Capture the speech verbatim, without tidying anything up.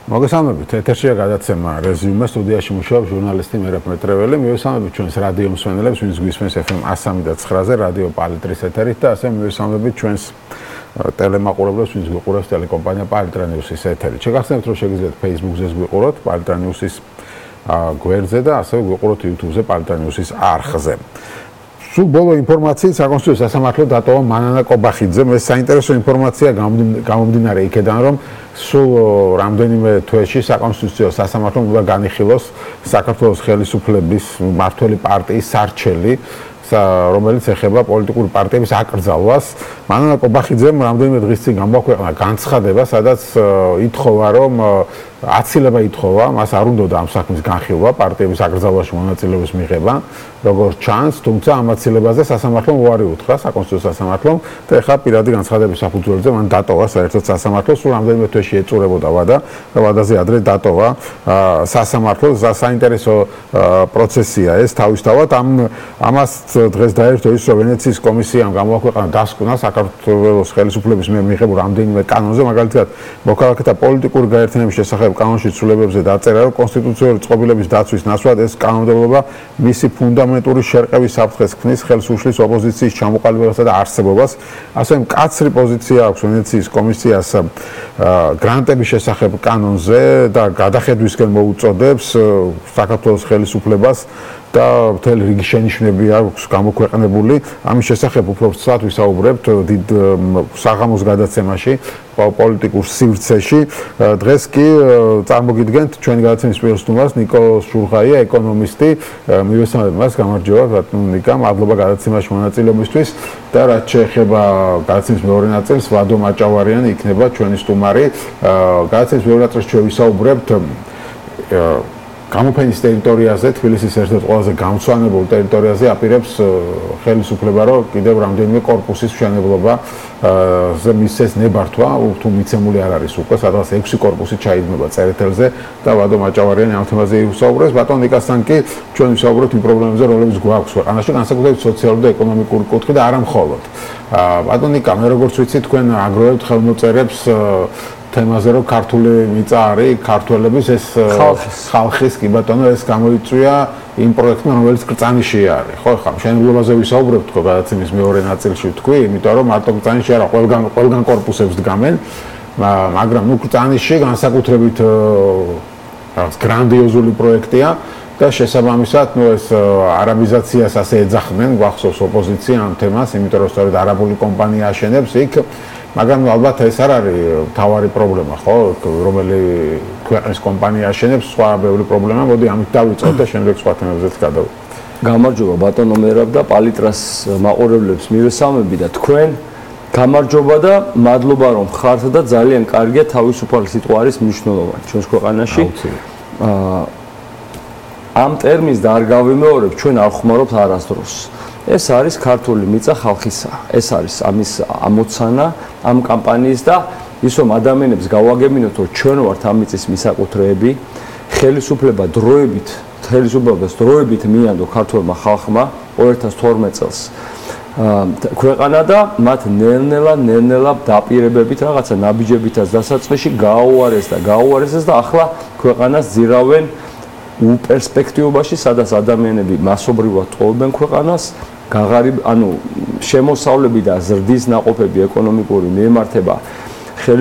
მოგესალმებით, ეთერშია გადაცემა რეზიუმე, სტუდიაში მუშაობს ჟურნალისტი მერაბ მეტრეველი. მივესალმებით ჩვენს რადიო მსმენელებს, ვინც გვისმენს ეფ ემ one oh three point nine-ზე რადიო პალიტრის ეთერით და ასევე მივესალმებით ჩვენს ტელემაყურებლებს, ვინც გვიყურებს ტელეკომპანია პალიტრა ნიუსის ეთერით. შეგახსენებთ, რომ შეგიძლიათ Facebook-ზე გვიყუროთ პალიტრა ნიუსის გვერდზე და ასევე გვიყუროთ YouTube-ზე პალიტრა ნიუსის არხზე. სულ ბოლო ინფორმაციით საკონსტიტუციო სასამართლო დატოვა მანანა კობახიძემ. ეს საინტერესო ინფორმაცია გამომდინარე იქედან, რომ სულ რამდენიმე თვეში საკონსტიტუციო სასამართლომ უნდა განიხილოს საქართველოს ხელისუფლების მმართველი პარტიის სარჩელი, რომელიც ეხება პოლიტიკური პარტიების აკრძალვას. მანანა კობახიძემ რამდენიმე დღის წინ გამოაქვეყნა განცხადება, სადაც ითხოვა, რომ აცილება ითხოვა, მას არ უნდოდა ამ საქმის განხილვა, პარტიების აკრძალვაში მონაწილეობის მიღება, როგორც ჩანს, თუმცა ამ აცილებაზე სასამართლომ უარი უთხრა, საკონსტიტუციო სასამართლომ და ეხლა პირადი განცხადების საფუძველზე მან დატოვა საერთოდ სასამართლო, სულ რამდენიმე თვეში ეწურებოდა ვადა და ვადაზე ადრე დატოვა სასამართლო. საინტერესო პროცესია ეს თავისთავად. ამ ამას დღეს დაერთო ის, რომ ვენეციის კომისიამ გამოაქვეყნა დასკვნა საქართველოს ხელისუფლების მიერ მიღებულ რამდენიმე კანონზე, მაგალითად მოქალაქეთა პოლიტიკური გაერთიანების შესახებ კანონში ცვლილებებზე დაწერა, რომ კონსტიტუციური წყობილების დაცვის ნაცვლად ეს კანონმდებლობა მისი ფუნდამენტური შერყევის საფრთხეს ქმნის, ხელს უშლის ოპოზიციის ჩამოყალიბებასა და არსებობას. ასევე მკაცრი პოზიცია აქვს ვენეციის კომისიას გრანტების შესახებ კანონზე და გადახედვისკენ მოუწოდებს საქართველოს ხელისუფლებას და მთელი რიგი შენიშვნები აქვს გამოქვეყნებული. ამის შესახებ უფრო ცუდად ვისაუბრებთ დიდ საღამოს გადაცემაში, პოლიტიკურ სივრცეში. დღეს კი წარმოგიდგენთ ჩვენი გადაცემის პირველ სტუმარს ნიკო შურღაია, ეკონომისტი. მივესალმებ მას, გამარჯობა ბატონო ნიკა, მადლობა გადაცემაში მონაწილეობისთვის და რაც შეეხება გადაცემის მეორე ნაწილს, ვადო მაჭავარიანი იქნება ჩვენი სტუმარი. გადაცემის მეორე ნაწილში ჩვენ ვისაუბრებთ გამოფენის ტერიტორიაზე, თბილისის ერთ-ერთ ყველაზე გამწვანებულ ტერიტორიაზე აპირებს ხელისუფლება, რომ კიდევ რამდენიმე კორპუსის მშენებლობა ზე მისცეს ნებართვა, თუ მიცემული არ არის უკვე, სადღაც ექვსი კორპუსი ჩაიდგმება წერეთელზე და ვადო მაჭავარიანი ამ თემაზე ისაუბრებს. ბატონ ნიკასთან კი ჩვენ ვისაუბრებთ იმ პრობლემებზე, რომლებიც გვაქვს ქვეყანაში, განსაკუთრებით სოციალური და ეკონომიკური კუთხით და არა მხოლოდ. ბატონ ნიკა, მე როგორც ვიცი, თქვენ აგროვებთ ხელმოწერებს თემაზე, რომ ქართული მიწა არის ქართველების, ეს ხალხის, კი ბატონო, ეს გამოიწვია იმ პროექტმა, რომელიც კრწანიში არის. ხო, ხა მშენებლობაზე ვისაუბრებთ თქო გადაცემის მეორე ნაწილში ვთქვი, იმიტომ რომ მარტო კრწანიში არა, ყველგან ყველგან კორპუსებს დგამენ, მაგრამ ნუ კრწანიში განსაკუთრებით რაღაც გრანდიოზული პროექტია და შესაბამისად, ნუ ეს არაბიზაციას ასე ეძახდნენ, გვახსოვს ოპოზიცია ამ თემას, იმიტომ რომ სწორედ არაბული კომპანია აშენებს იქ. მაგრამ ალბათ ეს არ არის თავარი პრობლემა, ხო, რომელი ქვეყნის კომპანია აშენებს, სხვა ბევრი პრობლემა. მოდი ამით დავიწყოთ და შემდეგ სხვა თემებზეც გადავიდეთ. გამარჯობა ბატონო მერაბ და პალიტრას მაყურებლებს მივესალმები და თქვენ გამარჯობა და მადლობა რომ ხართ და ძალიან კარგია თავისუფალი სიტყვა არის მნიშვნელოვანი ჩვენს ქვეყანაში. ამ ტერმინს და არ გავიმეორებ, ჩვენ არ ხმარობთ არასდროს. ეს არის ქართული მიწა ხალხისა. ეს არის ამის ამოცანა ამ კამპანიის და ის რომ ადამიანებს გავაგებინოთ, რომ ჩვენ ვართ ამ მიწის მისაკუთრეები, ხელისუფლება დროებით, ხელისუფლებას დროებით მიანდო ქართულმა ხალხმა ორი ათას თორმეტ წელს ქვეყანა და მათ ნელ-ნელა, ნელ-ნელა დაპირებებით რაღაცა ნაბიჯებითაც დასაწყისში გააუარეს და გააუარესეს და ახლა ქვეყანას ძირავენ უპერსპექტივობაში, სადაც ადამიანები მასობრივად ტოვებენ ქვეყანას. გაღარიბ, ანუ შემოსავლები და ზრდის ნაყოფები ეკონომიკური მიემართება